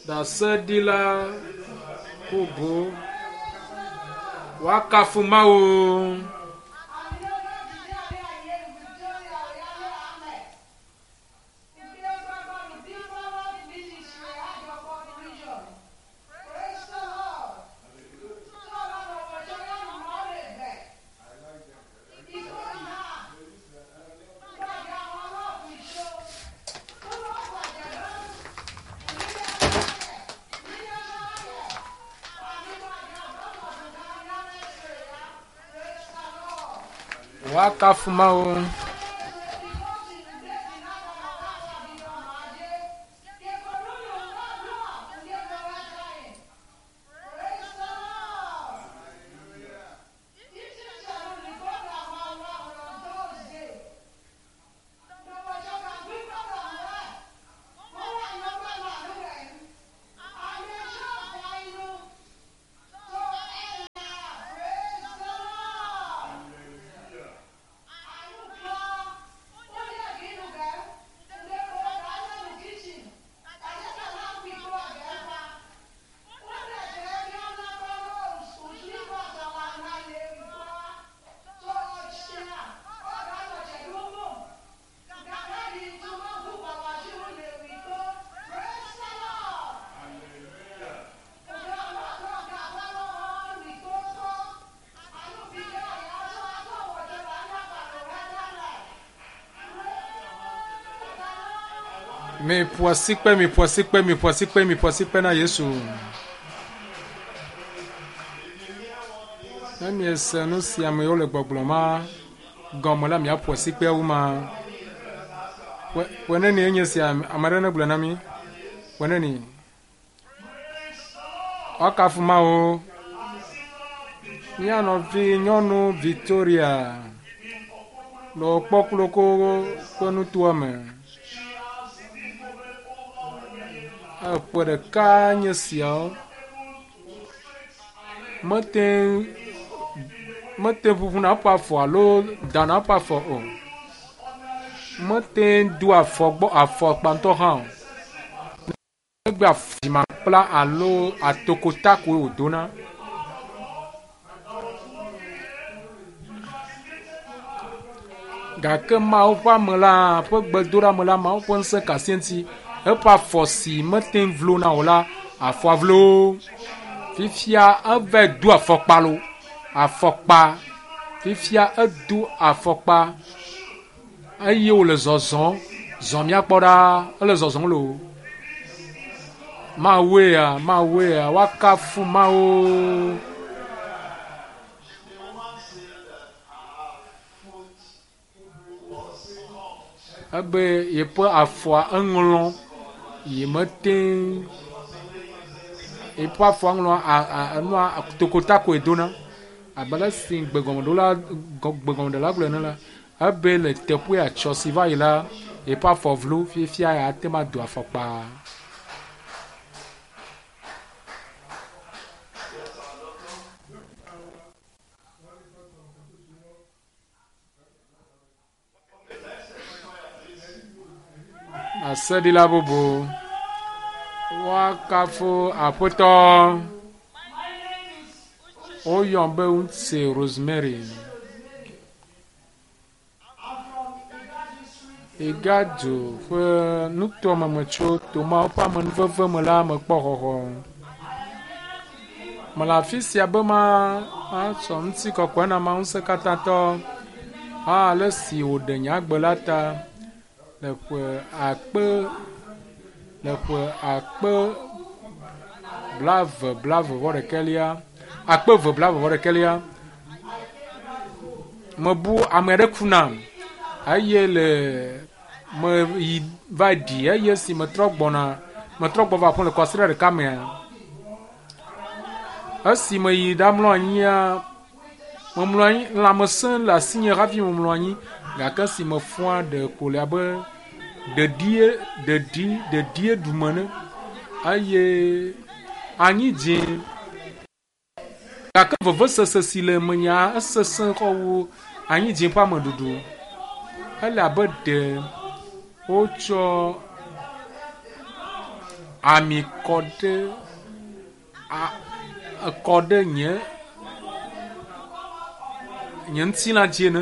Ɖaseɖila bubu woakafu Mawu. Woakafu Mawu. Miƒo asikpe, miƒo asikpe, miƒo asikpe, miƒo asikpe na Yesu. Ne miese nu si ame yiwo le gbɔgblɔm ma gɔme la, miaƒo asikpeawo ma. Ƒe ƒe nenie enye sia ame aɖe negblɔe na mi. Ƒe neni? Woakafu Mawu. Mía nɔvi nyɔnu Victoria le kpɔkloko ƒe nutoa me. Eƒe ɖeka nye siawo. Mete mete ʋuʋuna eƒe afɔ alo dana eƒe afɔ o. Mete do afɔ gbɔ afɔkpa ŋutɔ hã o. Negbe dzimakpla alo atokota koe wòdona. Gake Mawu ƒe ame la ƒe gbedoɖame la, Mawu ƒe ŋusẽ ka asi eŋuti. Eƒe afɔ si mete ŋu vlona o la, afɔa vlo. Fifia eva do afɔkpa lo. Afɔkpa. Fifia edo afɔkpa eye wòle zɔzɔm. Zɔ míakpɔ ɖaa. Ele zɔzɔm loo. Mawue ya, Mawue ya, woakafu Mawu. Ebe yeƒe afɔa eŋlɔ yi mete yeƒe afɔa ŋlɔ enua tokota koe dona. Abe ale si gbegɔmeɖola gbegɔmeɖela gblɔe ene la, ebe le teƒea tsɔ si va yi la, yeƒe afɔ vlo fifia ate ŋu ado afɔkpa. Aseɖila bubu. Woakafu Aƒetɔ. Woyɔm be Ŋutse Rosemary. Igadu ƒe nutoame me tso Tomawo ƒe amenuveve me la mekpɔ xɔxɔ. Mele afi sia be matsɔ ŋutikɔkɔe na Mawu Ŋusẽkatãtɔ ale si wòɖe nye agbe la ta le ƒe akpe le ƒe akpe blaeve blaeve vɔ ɖekɛlia akpe eve blaeve vɔ ɖekɛlia. Mebu ame aɖe ku nam eye le meyi va ɖi eye esi metrɔ gbɔna metrɔ gbɔ va aƒe le kɔsiɖa ɖeka mea esi meyi ɖamlɔ anyia memlɔ anyi lãmesẽ le asinye hafi memlɔ anyi gake esi mefɔa ɖe ko le abe ɖeɖie ɖeɖi ɖeɖie ɖum ene eye anyi dze gake vevesese si le menya esesẽ xɔ wu anyi dze ƒe ameɖuɖu. Ele abe ɖe wotsɔ Ami kɔ ɖe kɔ ɖe nye nye ŋutilã dzi ene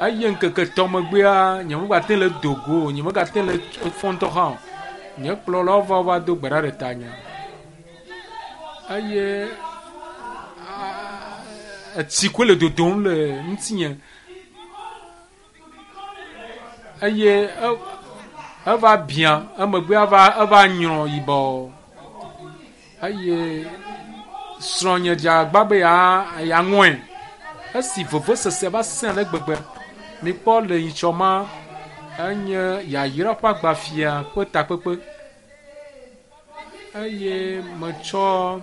eye ŋkeke tɔ̃ megbea nye megate le do go o, nye megate le fɔ ŋutɔ hã o. Nye kplɔlawo va va do gbe ɖa ɖe tanye eye etsi koe le dodom le ŋutinye eye eva biã emegbe eva nyrɔ yibɔ eye srɔ̃nye dze agbagba be yeaŋɔe. Esi vevesese va sẽ ale gbegbe, mikpɔ le nyitsɔ ma enye yayra ƒe agbafia ƒe takpekpe eye metsɔ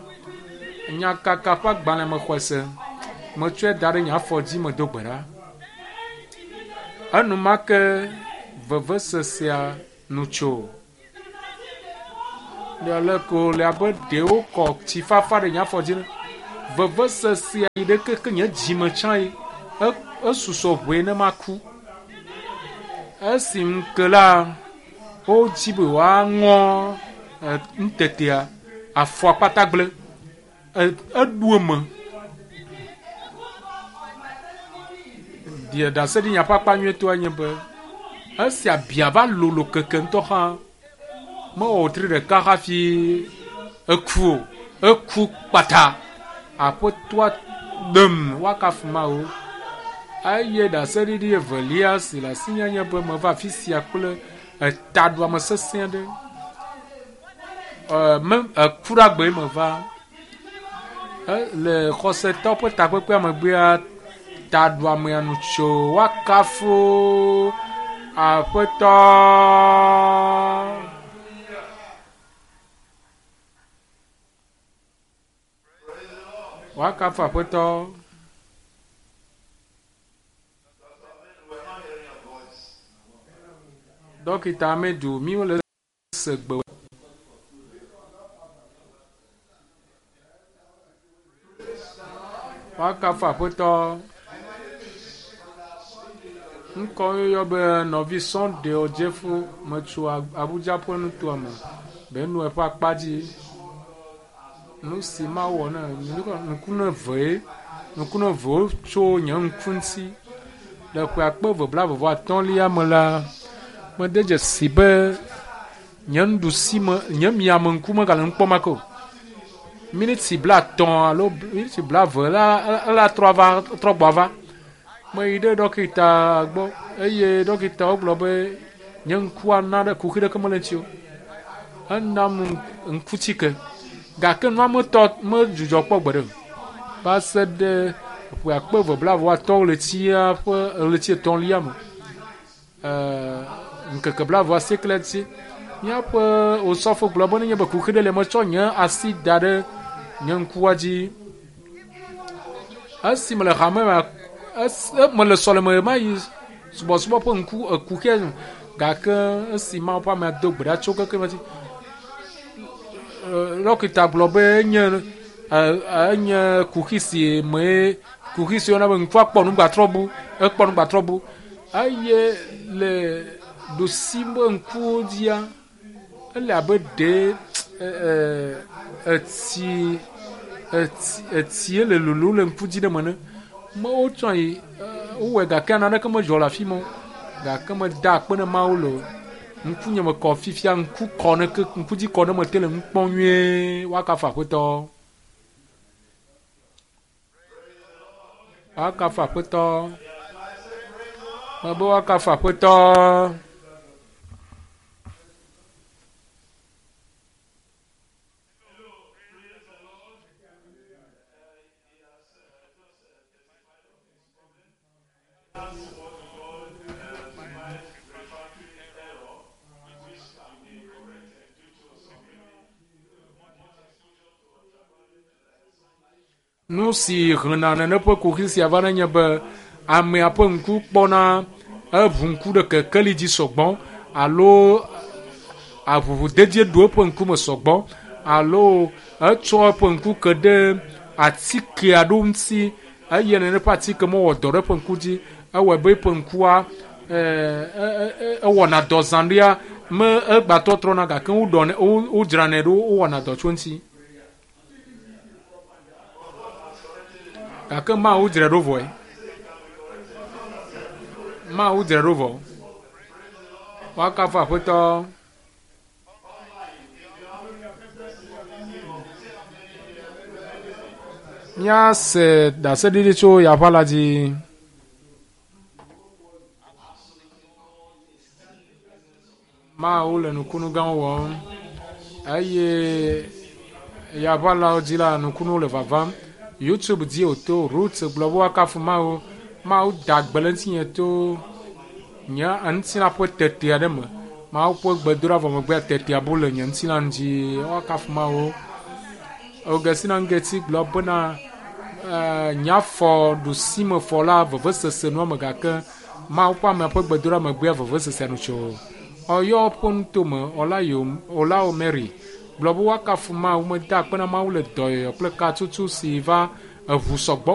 nyakaka ƒe agbalẽ me xɔe se. Metsɔe da ɖe nye afɔ dzi medo gbe ɖa. Enumake vevesesea nu tso. Le ko le abe ɖe wokɔ tsi fafa ɖe nye afɔ dzi. Vevesesea yi ɖe keke nye dzime tsã yi esusɔ ʋee ne maku. Esi ŋu ke la, wodzi be woaŋɔ nutetea, afɔa kpata gblẽ. Eɖu eme. Ɖaseɖinya ƒe akpa nyuietɔa nye be esi abia va lolo keke ŋutɔ hã, mewɔ wòtri ɖeka hafi eku o. Eku kpata. Aƒetɔa ɖem woakafu Mawu. Eye ɖaseɖiɖi evelia si le asinye nye be meva afi sia kple etaɖuame sesẽ aɖe. Eku ɖe agbee meva. Le xɔsetɔwo ƒe takpekpea megbea, taɖuamea nu tso woakafu Aƒetɔ. Woakafu Aƒetɔ. Dɔkita Amedu, míwole se gbe. Woakafu Aƒetɔ. Ŋkɔ yɔyɔ be nɔvi Sunday Odzefo metso Abuja ƒe nutoa me. Benue ƒe akpa dzi. Nu si mawɔ ne ŋku ne vee, ŋku ne vewo tso nye ŋku ŋuti. Le ƒe akpe eve blaeve vɔ atɔ̃lia me la, mede dzesi be nye nuɖusi me, nye miame ŋku megale nu kpɔm ake o. Miniti 50 alo miniti 20 la ela trɔ va trɔ gbɔ va. Meyi ɖe dɔkita gbɔ eye dɔkitawo gblɔ be nye ŋkua na ɖe kuxi ɖeke mele ŋuti o. Enam ŋkutike gake nua metɔ medzudzɔ kpɔ gbeɖe o. Va se ɖe ƒe akpe eve blaeve vɔ atɔ̃ ɣletia ƒe ɣleti etɔ̃lia me. Ŋkeke 28 dzi. Míaƒe osɔfo gblɔ be nenye be kuxi ɖe le metsɔ nye asi da ɖe nye ŋkua dzi. Esi mele hame me, mele sɔleme ma yi subɔsubɔ ƒe ŋku ekuxia gake esi Mawu ƒe amea do gbe ɖa tso keke me dzi. Dɔkita gblɔ be enye enye kuxi si mee kuxi si woyɔna be ŋkua kpɔ nu gbatrɔ bu, ekpɔ nu gbatrɔ bu eye le ɖusi be ŋkuwo dzia, ele abe ɖe etsi etsi etsie le lolo le ŋku dzi ɖe me ene. Me wotsɔ yi wowɔe gake naneke medzɔ le afi ma o. Gake meda akpe ne Mawu le ŋkunye me kɔ fifia ŋku kɔ ne ke ŋku dzi kɔ ne mete le nu kpɔm nyuie. Woakafu Aƒetɔ. Woakafu Aƒetɔ. Mebe woakafu Aƒetɔ. Nu si hena nene ƒe kuxi sia va nenye be amea ƒe ŋku kpɔna eʋu ŋku ɖe kekeli dzi sɔgbɔ alo aʋuʋudedie ɖo eƒe ŋkume sɔgbɔ alo etsɔ eƒe ŋku ke ɖe atike aɖewo ŋuti eye nene ƒe atike mewɔ dɔ ɖe eƒe ŋku dzi. Ewɔe be eƒe ŋkua ewɔna dɔ zã ɖea Me egbatɔtrɔna gake woɖɔnɛ wodzranɛ ɖo wowɔna dɔ tso eŋuti. Gake Mawu dzrae ɖo vɔe. Mawu dzrae ɖo vɔ. Woakafu Aƒetɔ. Míase ɖaseɖiɖi tso yaʋa la dzi. Mawu le nukunu gãwo wɔm eye yaʋalawo dzi la nukunuwo le vavam. YouTube dzi wòto Ruth gblɔ be woakafu Mawu. Mawu da gbe le ŋutinye to nye ŋutilã ƒe tete aɖe me. Mawu ƒe gbedoɖa vɔ megbea tetea bu le nye ŋutilã ŋuti. Woakafu Mawu. Augustina Ngeti gblɔ bena nye afɔ ɖusime fɔ la vevesese nua me gake Mawu ƒe amea ƒe gbedoɖa megbea vevesesea nu tso. Ɔyɔ ƒe nutome Olao Mary gblɔ be woakafu Mawu meda akpe na Mawu le dɔyɔyɔ kple katutu si va eʋu sɔgbɔ.